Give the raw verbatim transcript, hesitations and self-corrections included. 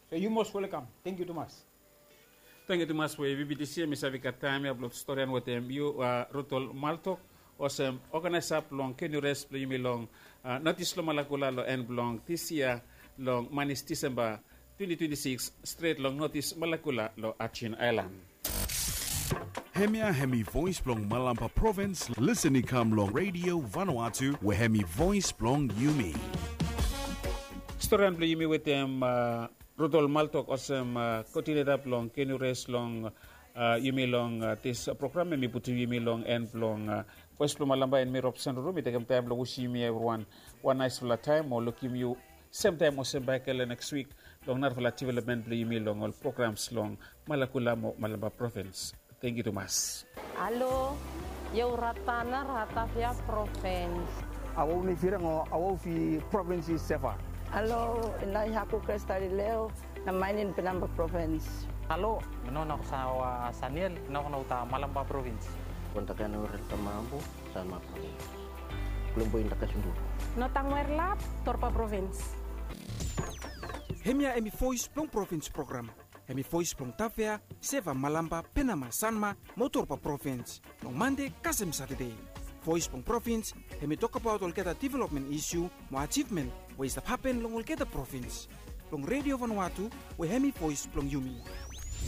So yu mos welkam. Tangkiu tumas. Tangkiu tumas we vibitisi mi save gat taem ya blong storian wetem yu, Rutol Maltok, olsem oganaesa blong kenu res blong yumi long notis long Malakula long en blong dis yia, long manis Disemba twenti twenti sikis, stret long notis Malakula long Ajin Aelan. Hemia hemi voes blong Malampa provins. Lisen i kam long Redio Vanuatu we hemi voes blong yumi. Storian blong yumi wetem Rutol Maltok olsem koodineta blong kenu res long yumi long dis program, hemi putum yumi long en blong Voes blong Malampa. Hemi Robson Ruru. Mi tekem taem blong wisim yumi evriwan wan naesfala taem mo lukim yu semtaem olsem bakegen neks wik long narafala developmen blong yumi long ol programs long Malakula mo Malampa provins. Tangkiu tumas. Alo, yau Ratana, Ratavia provins. Awau ni firang o awau fi provins i Seva. Alo, inai haku Kristalileo, na mainin Penamba provins. Alo, no na sa wa Saniel, no na uta Malampa provins. Kontakan urel tamambu, Sanma provins. Kulumbu indaka sundu. No tangwer lap, Torpa provins. Hemia hemi voes blong provins program. Hemi voes blong Tavea, Seva, Malampa, Penama, Sanma mo Torpa provins. Long Mande kasem Satade. Voes blong provins hemi tokbaot olgeta developmen isu mo ajivmen we i stap hapen long olgeta provins. Long Redio Vanuatu we hemi voes blong yumi.